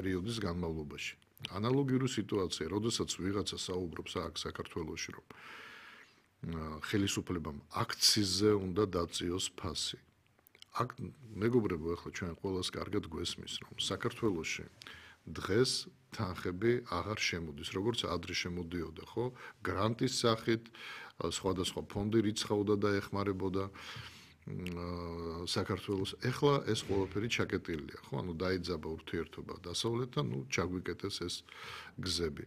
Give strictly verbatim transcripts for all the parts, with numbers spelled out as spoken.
პერიოდის განმავლობაში. ანალოგიური სიტუაცია, როდესაც ვიღაცა საუბრობს აქ საქართველოში, რომ ხელისუფლებამ აქციზზე უნდა დაწიოს ფასი. აქ მეგობრებო, ახლა ჩვენ ყველას კარგად გვესმის, რომ საქართველოში დღეს თანხები აღარ შემოდის, როგორც ადრე შემოდიოდა, ხო? გრანტის სახით, სხვადასხვა ფონდი რიცხავდა და ეხმარებოდა საქართველოს. ეხლა ეს ყველაფერი ჩაკეტილია, ხო? ანუ დაიძაბა ურთიერთობა დასავლეთთან, ნუ ჩაგვიკეტეს ეს გზები.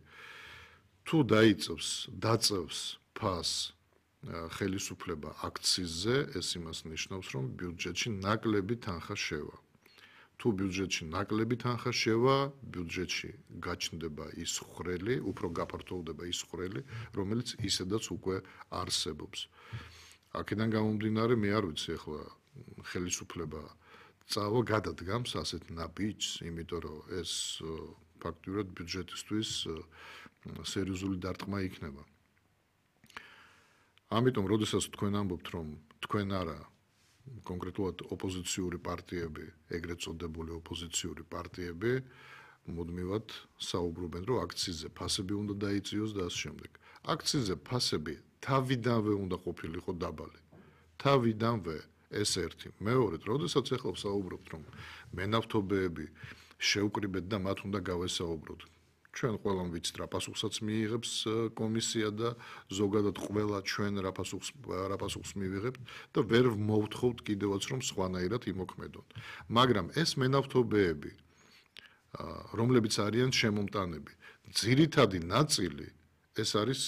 თუ დაიწევს, დაწევს ფასს ხელისუფლება აქციზზე, ეს იმას ნიშნავს, რომ ბიუჯეტში ნაკლები თანხა შევა. თუ ბიუჯეტში ნაკლები თანხა შევა, ბიუჯეტში გაჩნდება ის ხრელი, უფრო გაფართოვდება ის ხრელი, რომელიც ისედაც უკვე არსებობს. აქედან გამომდინარე, მე არ ვიცი ახლა ხელისუფლება წავა გადადგამს ასეთ ნაბიჯს, იმიტომ რომ ეს ფაქტურად ბიუჯეტისთვის სერიოზული დარტყმა იქნება. ამიტომ, როდესაც თქვენ ამბობთ, რომ თქვენ არა კონკრეტულად ოპოზიციური პარტიები, ეგრეთ წოდებული ოპოზიციური პარტიები, მუდმივად საუბრობენ, რომ აქციზზე ფასები უნდა დაიწიოს და ამ შემდეგ. აქციზზე ფასები თავიდანვე უნდა ყოფილიყო დაბალი. თავიდანვე ეს ერთი. მეორედ, როდესაც ახლა საუბრობთ, რომ მენავთობეები შევკრიბეთ და მათ უნდა გავესაუბროთ. ჩვენ ყველამ ვიცით რა პასუხსაც მიიღებს კომისია და ზოგადად ყველა ჩვენ რა პასუხს რა პასუხს მივიღებთ და ვერ მოვთხოვთ კიდევაც რომ სხვანაირად იმოქმედონ. მაგრამ ეს მენავთობეები, რომლებიც არიან შემომტანები, ძირითადი ნაწილი ეს არის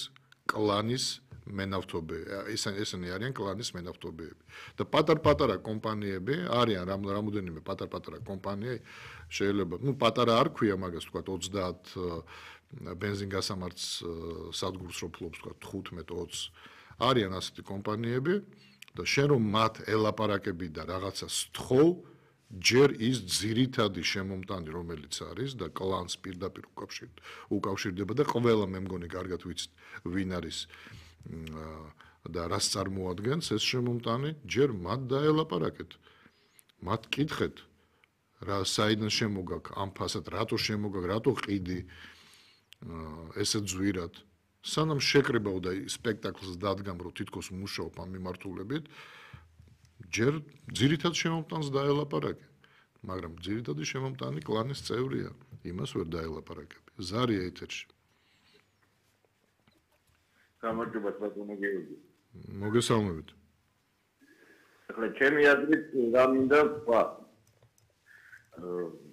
კლანის მენავთობეები, ესენი არიან კლანის მენავთობეები. და პატარ-პატარა კომპანიები არიან რამოდენიმე პატარ-პატარა კომპანია შეიძლება, ну, პატარა არ ქვია მაგას, თქვა ოცდაათ ბენზინგასამართს სადგურს რო ფლობს, თქვა თხუთმეტ ოცს. არიან ასეთი კომპანიები და შენ რომ მათ ელაპარაკები და რაღაცას თხოვ, ჯერ ის ძირითადი შემომტანი რომელიც არის და კლანს პირდაპირ უკავშირდება და ყველა მე მგონი კარგად ვიცით ვინ არის და რას წარმოადგენს ეს შემომტანი, ჯერ მათ დაელაპარაკეთ. მათ კითხეთ რა საიდან შემოგაქ ამ ფასად, რატო შემოგაქ, რატო ყიდი ესე ძვირად. სანამ შეკრებავ და სპექტაკლს დადგამ, რომ თითქოს მუშაობ ამ მიმართულებით, ჯერ ძირითად შემომტანს დაელაპარაკე. მაგრამ ძირითადი შემომტანი კლანის წევრია, იმას ვერ დაელაპარაკები. ზარია ეთერში. გამარჯობა ბატონო გიორგი. მოგესალმებით. ახლა ჩემი აზრით რა მინდა ვთქვა.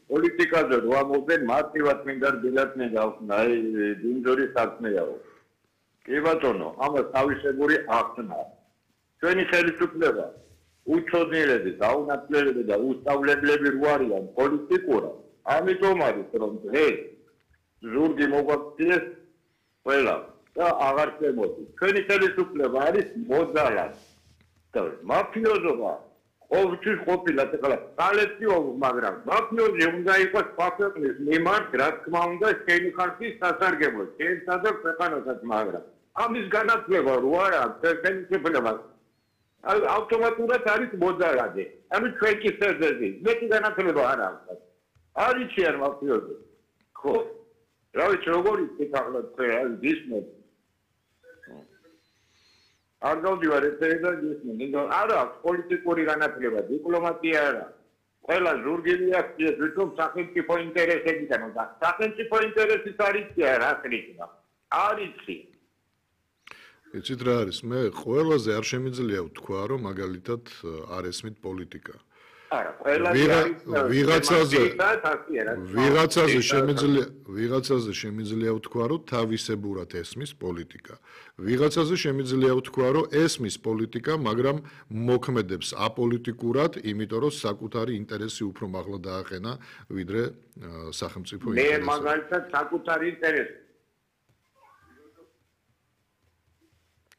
პოლიტიკაზე რო ამბობენ, მარტივად მინდა დილათნე გავხსნა, აი დინჯორის საქმეაო. კი ბატონო, ამას თავისებური ახსნა. ჩვენი ხელისუფლება უჩვენელები, დაუნაწილებლები და უსწავლებლები რო არიან პოლიტიკურად. ამიტომ არის რომ დღეს ზურგი მოგვაქციეს ყველა და აღარ შემოდის. ჩვენი ხელისუფლება არის მოძალად. და მაფიოზობა ყოველთვის ყოფილა ახლა კოლექტივო, მაგრამ მაფიოზი უნდა იყოს ფაქტორის მიმართ, რა თქმა უნდა, შენი ხალხის სასარგებლოდ, შენსა და ქვეყანასაც, მაგრამ ამის განათლება რო არა აქვს ხელისუფლება ავტომატურად არის მოძალადი. ანუ ჩვენ კი სერვერი, მეტი განათლება არ აქვს. არიციან მაფიოზი. ხო? რა ვიცი როგორი ახლა თქვენ გისმენთ. არ გავდივარ ესე და გისმენთ. არა აქვს პოლიტიკური განათლება, დიპლომატია არა. ყველა ზურგილი აქვს, თვითონ სახელმწიფო ინტერესებიდან და სახელმწიფო ინტერესის არიცია რა ხრიჭა. არიცი. იცით რა არის, მე ყველაზე არ შემიძლია ვთქვა, რომ მაგალითად არ ესმით პოლიტიკა. არა, ყველაზე არის ვიღაცაზე ვიღაცაზე შემიძლია ვიღაცაზე შემიძლია ვთქვა, რომ თავისებურად ესმის პოლიტიკა. ვიღაცაზე შემიძლია ვთქვა, რომ ესმის პოლიტიკა, მაგრამ მოქმედებს აპოლიტიკურად, იმიტომ რომ საკუთარი ინტერესი უფრო მაღლა დააყენა, ვიდრე სახელმწიფო ინტერესი. მე მაგალითად საკუთარი ინტერესი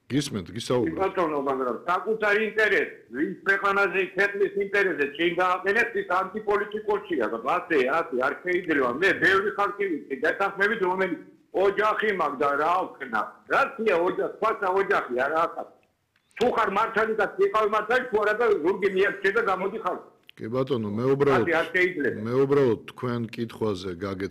გისმენთ, გისაუბრეთ. ბატონო, მაგრამ საკუთარი ინტერესი, ვინც ქვეყანაზე ქვეყნის ინტერესზე წინ გააყენებს, ის ანტიპოლიტიკურია და ასე, ასე არ შეიძლება. მე ბევრი ხალხი ვიცი, დასახმებით რომელიც ოჯახი მაქვს და რა ვქნა. რაცია ოჯახი, ფასა ოჯახი არა ახლა. თუ ხარ მართალი და იყავ მართალი, თუ არა და ზურგი მიაქცე და გამოდი ხალხი. კი ბატონო, მე უბრალოდ მე უბრალოდ თქვენ კითხვაზე გაგეც